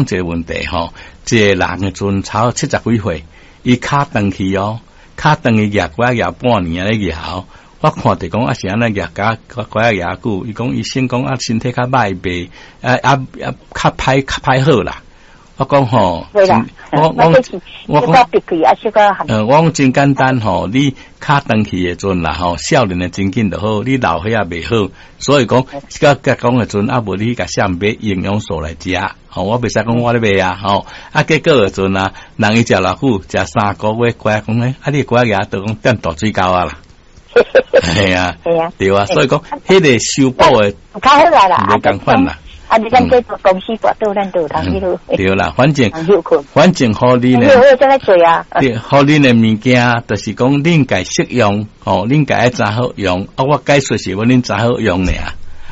一个問題吼，一個人的陣差70幾歲，伊跤斷去哦，跤斷去舉拐仔舉半年仔咧舉，我看著講啊是按怎舉甲拐仔舉久，伊講醫生講啊身體較歹袂啊啊啊較歹較歹好啦。我講吼，我我我講，我講真簡單吼，你跤斷去的陣啦吼，少年的真緊就好，你老歲仔袂好，所以講，甲甲講的陣啊，無你共啥買營養素來食，吼，我袂使講我咧賣啊，吼，啊結果的陣啊，人伊食偌久，食3個月，拐講咧，啊你拐仔都講踮大水溝啊啦，係啊，對啊，所以講，彼個修補的，較好啦，無仝款啦。啊！你咱這公司跋倒，咱就有通彼落。對啦，反正反正，予恁的，對，予恁的物件，就是講恁家適用，吼，恁家愛知好用，啊，我解說是欲恁知好用爾。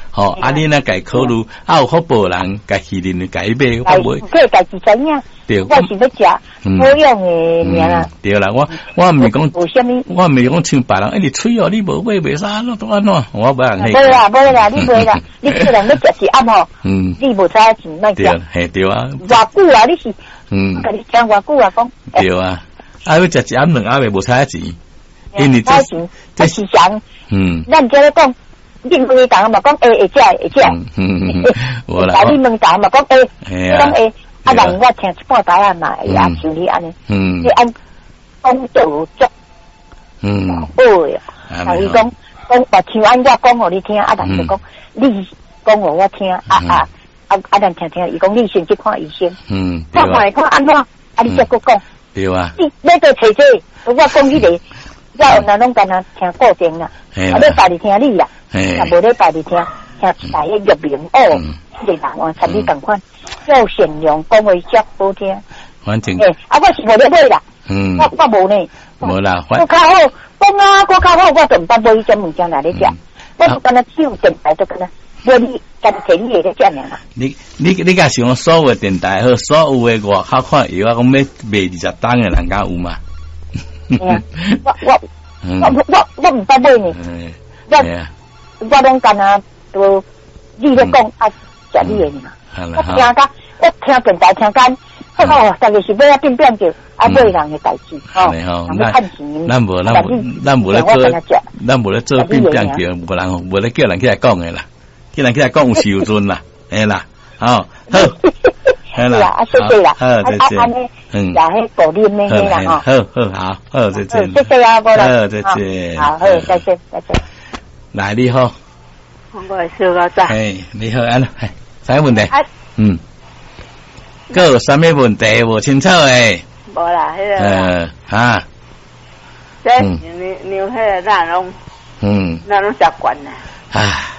吼，啊，你若家考慮，啊有福報人，家去恁家買，我袂。這家己知影。對，我是欲食保養的爾啦。對啦，我我毋是講，我毋是講像別人，欸，你喙哦，你無買袂使按怎都按怎，我無人。無啦，無啦，你袂啦，你叫人欲食一暗吼，你無彩錢莫食。嘿，對啊。偌久啊？你是？共你講偌久啊？講。對啊，啊欲食一暗兩暗的無彩錢，因為這這是啥？咱這咧講。你問伊逐嘛講會會食會食，無啦。你問逐嘛講會，講會，啊人我聽一半台仔嘛會啊像你按呢，你按講就足，好的。啊伊講講我像按我講予你聽，啊人就講你講予我聽，啊啊啊啊咱聽聽，伊講你先去看醫生，看看會看按怎，啊你才閣講。對啊。你欲閣揣這，我講彼個。我原來攏干焦聽固定啦，啊，禮拜日聽你啦，啊，無禮拜日聽聽一台彼玉明哦，這個人哦，參你仝款，夠善良，講話遮好聽。反正，欸，啊，我是無咧買啦，我我無呢，無啦，閣較好，講啊，閣較好，我就毋捌買彼種物件來咧食，我就干焦手電台就干焦買你，干焦提你的咧食爾啦。你你你若想講所有電台好，所有的外口看藥仔講欲賣20冬的人敢有嗎？我我我我我毋捌買呢，我我攏干焦都你咧講啊，食你的爾。我聽甲我聽電台聽甲，哦，逐个是欲仔變變著啊，買人的代誌吼，人欲趁錢。咱無咱無咱無咧做，咱無咧做變變著，無人無咧叫人起來講的啦，叫人起來講有時有陣啦，嘿啦，吼好。是啦，啊，謝謝啦，好，再見。啊，按呢，也彼顧啉的彼啦吼。好好好，好再見。謝謝啊，無啦。好，再見。好，好，再見，再見。來，你好。我係小老仔。嘿，你好，按怎，啥問題？嗯。閣有啥物問題無清楚的？無啦，彼個。哈。這量量彼个咱攏，咱攏習慣啦。啊。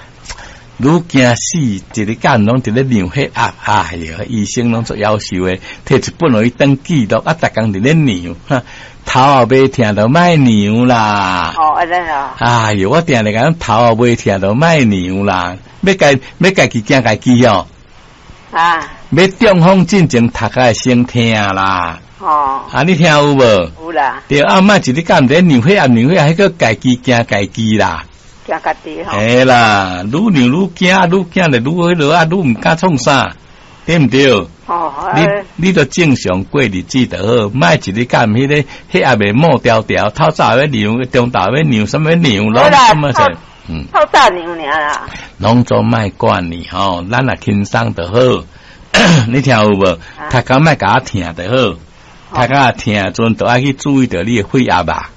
愈驚死，一日到晚攏佇咧量血壓，哎喲，醫生攏足夭壽的，提一本予伊當記錄，啊，逐工佇咧量，頭後袂疼就莫量啦。哦，按呢哦。哎喲，我定定講頭後袂疼就莫量啦，欲家欲家己驚家己哦。啊。欲中風進前頭殼會先疼啦。哦。啊，你聽有無？有啦。對啊，莫一日到晚佇咧量血壓量血壓，彼個家己驚家己啦。驚家己吼。嘿啦，愈量愈驚，愈驚就愈彼落啊，愈毋敢創啥，對毋對？哦，你你著正常過日子就好，莫一日到晚彼個血壓會冒條條，透早欲量，中晝欲量，啥物量，攏啥物者，透早量爾啦。攏總莫管你吼，咱若輕鬆就好。你聽有無？頭殼莫共我疼就好，頭殼疼的陣，就愛去注意著你的血壓吧。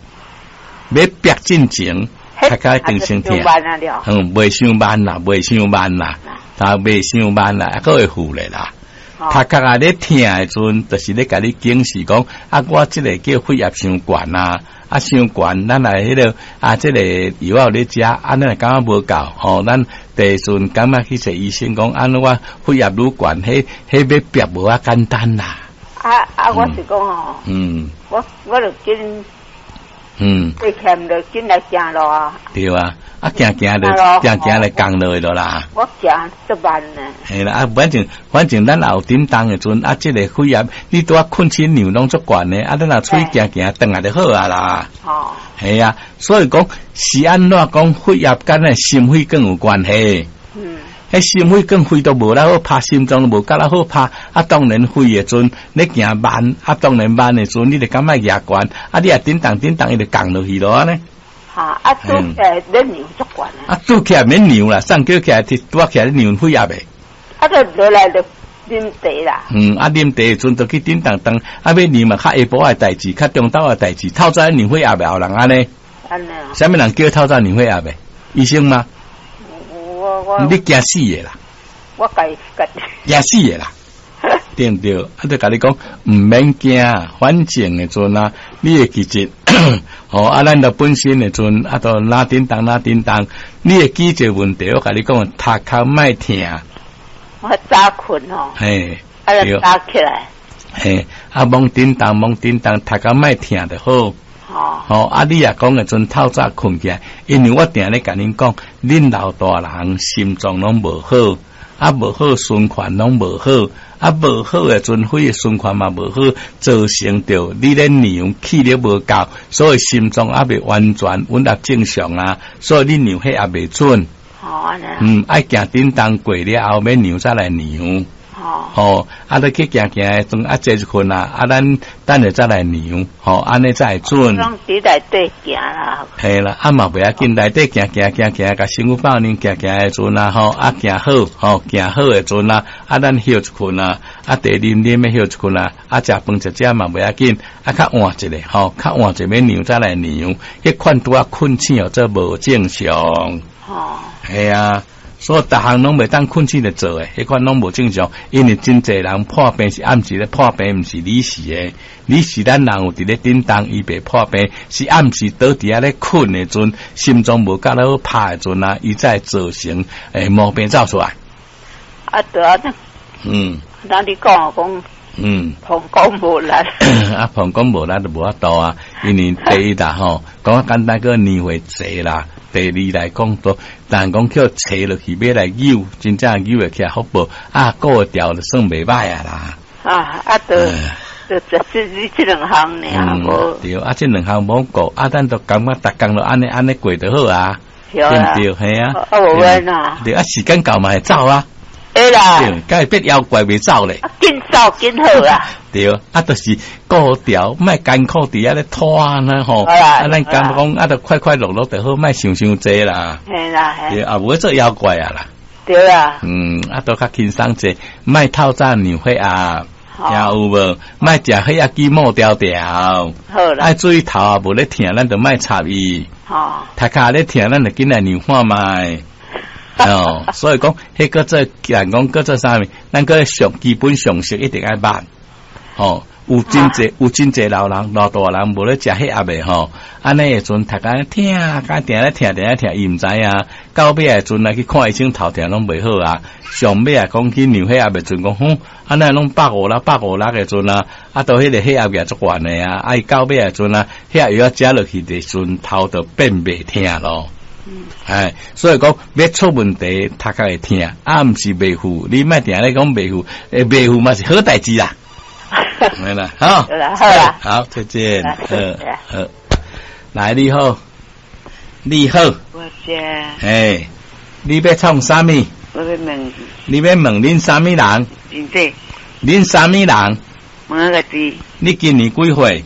欲逼進前。頭殼一定先疼，袂傷慢啦，袂傷慢啦，啊，袂傷慢啦，啊，閣會復咧啦。頭殼啊咧疼的陣，就是咧共你警示講，啊，我這个叫血壓傷懸啊，啊，傷懸，咱來彼个啊，這個藥有咧食，啊，咱若感覺無夠，吼，咱第陣感覺去揣醫生講，按怎我血壓愈懸，彼彼欲逼無遐簡單啦。啊啊，我是講吼，我我就緊。過欠就緊來行路啊！對啊，啊行行就行行就降落去啦。我行足慢呢。嘿啦，啊反正反正咱也有振動的陣，啊這個血壓你拄仔困醒量攏足懸的，啊咱若出去行行轉來就好啊啦。哦。嘿啊，所以講是按怎講血壓佮咱心血管有關係。彼心血管血都無力好拍，心臟都無夠力好拍。啊，當然血的陣你行慢，啊，當然慢的陣，你就感覺壓懸，啊，你也振動振動，伊就降落去咯，按呢。哈，啊，拄起來免量足懸啊！啊，拄起來免量啦，送叫起來，拄起來量血壓的。啊，就落來就啉茶啦。嗯，啊，啉茶的陣就去振動動，啊，欲量嘛較下晡的代誌，較中晝的代誌，透早量血壓的後人按呢？按呢啊？啥物人叫透早量血壓的？醫生嗎？我你驚死的啦！我家家驚死的啦！對毋對？啊，就共你講，毋免驚，反正的陣啊，你會記得，吼啊，咱著本身的陣啊，都哪叮當哪叮當，你會記一個問題，我共你講，頭殼莫疼。我早睏吼，嘿，啊，就早起來，嘿，啊，罔叮當罔叮當，頭殼莫疼就好。哦，吼，啊！你若講的陣透早睏起來，因為我定咧共恁講，恁老大人心臟攏無好，啊無好循環攏無好，啊無好的陣血的循環嘛無好，造成著你咧量氣力無夠，所以心臟猶未完全穩合正常啊，所以你量血壓袂準。哦，按呢。嗯，愛行振動過了後，欲量才來量。哦，吼，啊，你去行行的陣啊，坐一困啊，啊，咱等下再來量，吼，按呢才會準。攏佇內底行啦。嘿啦，啊嘛袂要緊，內底行行行行，共身軀放軟行行的陣啊，吼，啊行好，吼，行好的陣啊，啊咱歇一困啊，啊茶啉啉欲歇一困啊，啊食飯食食嘛袂要緊，啊較晏一下，吼，較晏一下欲量才來量，彼款拄仔睏醒哦，做無正常。哦，嘿啊。所以逐項攏袂當睏醒就做的，彼款攏無正常。因為真濟人破病是暗時咧破病，毋是擬時的。擬時咱人有佇咧振動，伊袂破病，是暗時倒佇遐咧睏的陣，心臟無夠好拍的陣啊，伊才會造成毛病走出來。啊對啊，那你講講，膀胱無力。啊，膀胱無力就無法度啊，因為第一啦吼，講簡單個年歲濟啦。第二來講，都人講叫揣落去欲來扭，真正扭會起來福報啊，顧調就算袂歹啊啦。啊啊，就就這這兩項爾無。對，啊，這兩項無顧，啊，咱都感覺逐工都按呢按呢過就好啊，對毋對？嘿啊。啊，無冤啊。對啊，時間到嘛會走啊。會啦。對，敢會變妖怪袂走咧。緊走緊好啊。對，啊，就是顧調，莫艱苦佇遐咧拖呢吼。啊，咱感覺講啊，就快快樂樂就好，莫想傷濟啦。嘿啦，嘿。對，啊，無做妖怪啊啦。對啊。嗯，啊，都較輕鬆濟，莫透早量血壓，聽有無？莫食血壓機抹條條。好啦。愛注意頭啊，無咧疼，咱就莫插伊。頭殼咧疼，咱就緊來量看覓。哦，所以講，彼個做人講，閣做啥物？咱閣上基本常識一定愛捌。吼，有真濟有真濟老人老大人無咧食血壓的吼，按呢的陣頭殼疼，甲定咧疼定咧疼，伊毋知影。到尾的陣來去看醫生，頭疼攏袂好啊。上尾啊，講去量血壓的陣講，哼，按呢攏150、156的陣啊，啊，都彼個血壓也足懸的啊。啊，伊到尾的陣啊，血壓藥食落去的陣，頭就變袂疼咯。哎，所以講欲出問題，頭殼會疼，啊，毋是袂赴，你莫定咧講袂赴，欸，袂赴嘛是好代誌啦。沒啦，好，好啦，好啦，好，再見，好，好，來，你好，你好，我遮，嘿，你欲創啥物？我欲問，你欲問恁啥物人？真濟，恁啥物人？問我家己。你今年幾歲？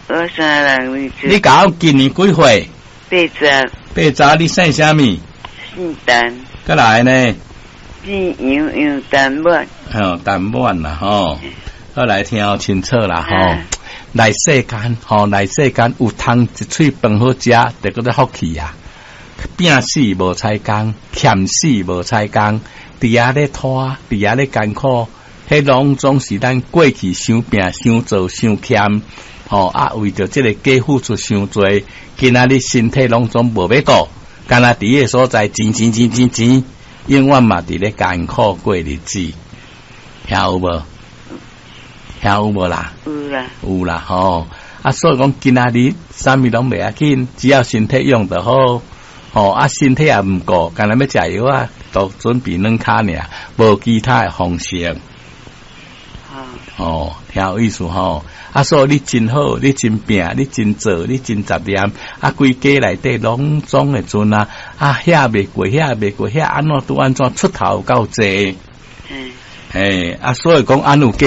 我啥人？你共我今年幾歲？ 80。 80，你姓啥物？姓陳。閣來呢？姓楊，楊陳滿。哦，陳滿啦，吼。好來聽清楚啦，吼。來世間，吼，來世間有通一喙飯好食，就叫做福氣啊。拼死無彩工，欠死無彩工，佇遐咧拖，佇遐咧艱苦，彼攏總是咱過去傷拼、傷做、傷欠，吼啊！為著這個加付出傷濟，今仔日身體攏總無欲顧，干焦佇彼個所在錢錢錢錢錢，永遠嘛佇咧艱苦過日子，聽有無？聽有無啦？有啦，有啦吼！啊，所以講今仔日啥物攏袂要緊，只要身體用得好，吼啊，身體也毋顧，干焦欲食藥啊，都準備軟跤爾，無其他的方式。哦，聽有意思吼。啊，所以你真好，你真拼，你真做，你真雜念，啊，規家內底攏總會陣啊，啊，遐袂過，遐袂過，遐按怎拄按怎出頭夠濟。嘿，啊，所以講按有計。